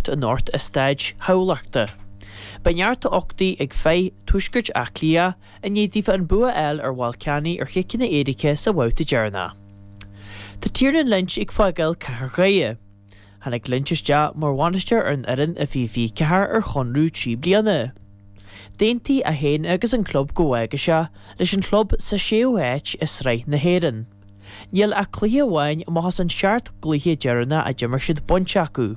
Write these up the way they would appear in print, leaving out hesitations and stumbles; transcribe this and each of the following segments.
8 anocht i Staid Thamhlachta. Beidh neart uchtaigh ag fir Tuaiscirt Átha Cliath i ndiaidh daofa an bua a fháil ar Bhaile Ceannaigh ar chiceanna éirice sa bhabhta deireanach. Tá Tiernan Lynch ag fágáil Cathair Dhoire. Tháinig Lynch isteach mar bhainisteoir ar an fhoireann i 2024 ar chonradh 3 bliana. D'aontaigh é féin agus an club go bhfágfadh sé leis an chlub sa séú háit i Sraith na hÉireann. Níl ach cluiche amháin amach as an seacht gcluiche deireanach a d'imir siad bainte acu.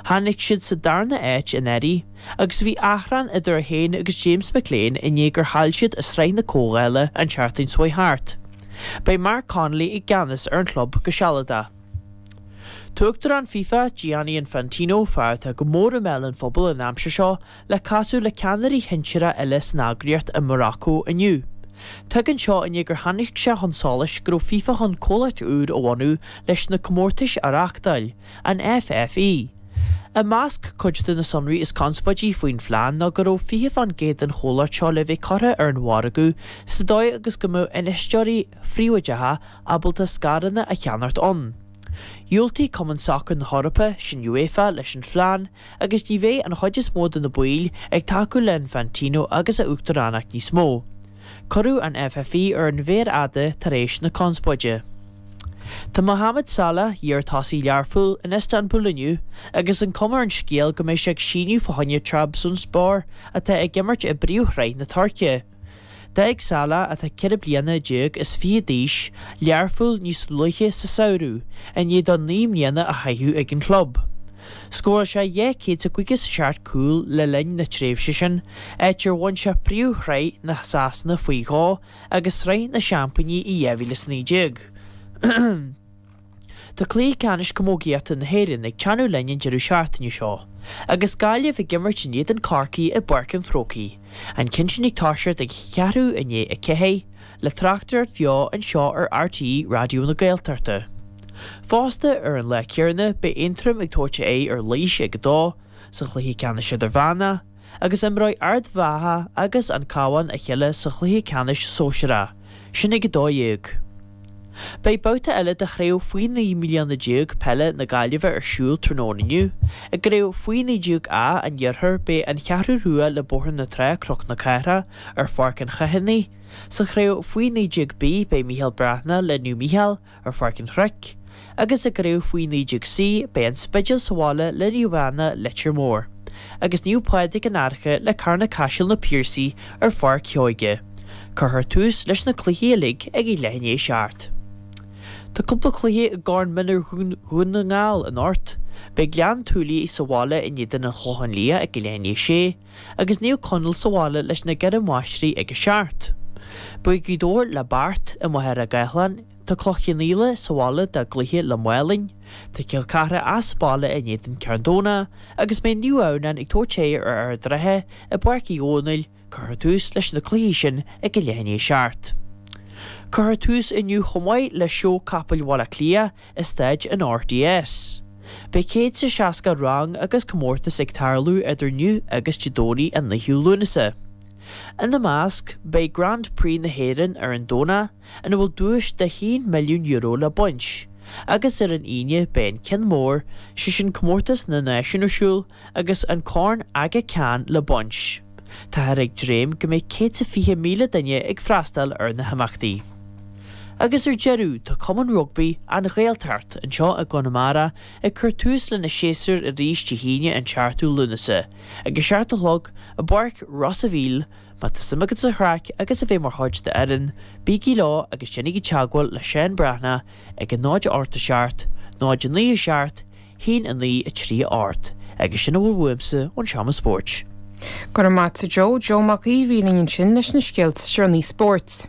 Tháinig siad sa darna háit anuraidh agus bhí achrann idir é féin agus James McClean i ndiaidh gur chaill siad i Sraith na Comhdhála an tseachtain seo chuaigh thart. Beidh Mark Connolly i gceannas ar an chlub go sealadach. Tá Uachtarán FIFA, Gianni Infantino, fear atá go mór i mbéal an phobail an aimsir seo, le casadh le ceannairí shinsearacha eile san eagraíocht i Morocco inniu. Tagann seo i ndiaidh gur tháinig sé chun solais go raibh FIFA chun comhlacht úr a bhunú leis na comórtais a reáchtáil, an FFI. I measc cuid de na sonraí is conspóidí faoin phlean ná go raibh 20% den chomhlacht seo le bheith curtha ar an mhargadh sa dóigh agus go mbeadh infheisteoirí phríobháideacha ábalta scaireanna a cheannacht ann. Dhiúltaigh Cumann Sacair na hEorpa, sin UEFA, leis an phlean agus ní bheidh an chuid is mó de na baill ag tacú le Infantino agus a uachtaránacht níos mó. Cuireadh an FFI ar an mhéar fhada tar éis na conspóide. Tá Mohamed Salah, iar-tosaí Learphoill, in Iostanbúl inniu agus an cuma ar an scéal go mbeidh sé ag síniú fá choinne Trabzonspor atá ag imirt i bPríomhshraith na Tuirce. D'fhág Salah, atá 14 bliana is fiche d'aois, Learpholl níos luaithe sa samhradh, i ndiaidh dó 9 mbliana a chaitheamh ag an chlub. Scóráil sé 257 cúl le linn na tréimhse sin, áit ar bhain sé Príomhshraith na Sasana faoi dhó agus Sraith na Seaimpíní i 2019. Tá Cluiche Ceannais Camógaíochta na hÉireann ag teannadh linn an deireadh seachtaine seo, agus Gaillimh ag imirt in éadan Chorcaí i bPáirc an Chrócaigh, an ceann sin ag toiseacht ag ceathrú i ndiaidh a 4, le tráchtaireacht bheo anseo ar RTÉ Raidió na Gaeltachta. Fosta, ar an lá céanna, beidh Aontroim ag tabhairt aghaidh ar Laois ag 2, sa chluiche ceannais idirmheánach, agus imreoidh Ard Mhacha agus an Cabhán a chéile sa chluiche ceannais sóisearach, sin ag 12. Beidh babhta eile de chraobh faoi 19 mbliana peile na Gaillimhe ar siúl tráthnóna inniu. I gcraobh faoi 19 A an Iarthair beidh an Cheathrú Rua le Bóthar na Trá Cnoc na Cathrach ar Pháirc an Chathánaigh. Sa chraobh faoi 19 B beidh Mícheál Breathnach le Naomh Mícheál ar Pháirc an Chnoic, agus i gcraobh faoi 19 C beidh An Spidéal sa bhaile le Naomh Anna Leitir Móir, agus Naomh Pádraig an Fhairche le Carna Caiseal Na Piarsaigh ar Pháirc Sheoige. Cuirfear tús leis na cluichí uilig ag a leath i ndiaidh a 7. Tá cúpla cluiche i gCorn Mionúir Dhún na nGall anocht. Beidh Gleann tSúilí sa bhaile in éadan an Chlocháin Liath ag a leath i ndiaidh a 6, agus Naomh Conaill sa bhaile leis na Doire Máistrí ag a 7. Beidh Gaoth Dobhair le Beart i Machaire Gathlán, tá Cloich Cheann Fhaola sa bhaile dá gcluiche le Málainn, tá Col Cartha as baile in éadan Cearn Domhnach agus beidh Naomh Adhamhnáin ag tabhairt aghaidh ar Ard an Rátha i bPáirc Uí Dhónaill, cuirfear tús leis na cluichí sin ag a leath i ndiaidh a 7. Cuirfear tús inniu chomh maith le Seó Capaill Bhaile Átha Cliath i Staid an RDS. Beidh 160 rang agus comórtas ag tarlú idir inniu agus Dé Domhnaigh an 9ú Lúnasa. Ina measc, beidh Grand Prix na hÉireann ar an Domhnach ina bhfuil duais de €1 milliún le baint, agus ar an Aoine beidh an ceann mór, sé sin Comórtas na Náisiún ar siúl agus an Corn Aga Khan le baint. Táthar ag dréim go mbeidh 120,000 duine ag freastal ar na himeachtaí. Agus ar deireadh, tá Cumann Rugbaí An Ghaeltacht anseo i gConamara ag cur tús lena séasúr arís Dé hAoine an 7ú Lúnasa, ag a 7 a chlog, i bPáirc Ros a' Mhíl. Má tá suim agat sa chraic agus a bheith mar chuid d'fhoireann, bígí leo agus déanaigí teagmháil le Seán Breathnach ag 0 8 7 0 9 7 1 9 3 8 agus sin a bhfuil uaimse ón Seomra Spóirt. Go raibh maith a't a Joe. Joe Mac Aoidh a bhí linn ansin leis na scéalta is deireanaí spóirt.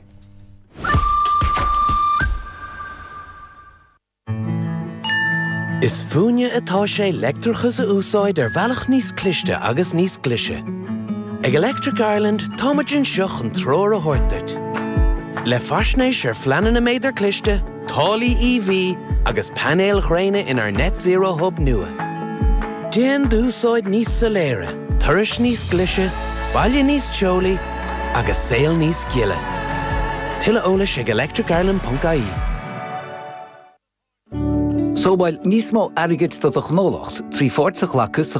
Is fúinne atá sé leictreachas a úsáid ar bhealach níos cliste agus níos glaise. Ag Electric Ireland táimid anseo chun treoir a thabhairt duit. Le faisnéis ar phleananna méadar cliste, táillí EV agus painéil ghréine inár Net Zero Hub nua. Déan d'úsáid níos soiléire, turais níos glaise, baile níos teolaí agus saol níos gile. Tuilleadh eolais ag electricireland.ie. Sábháil níos mó airgid do do ghnólacht trí pháirt a ghlacadh sa.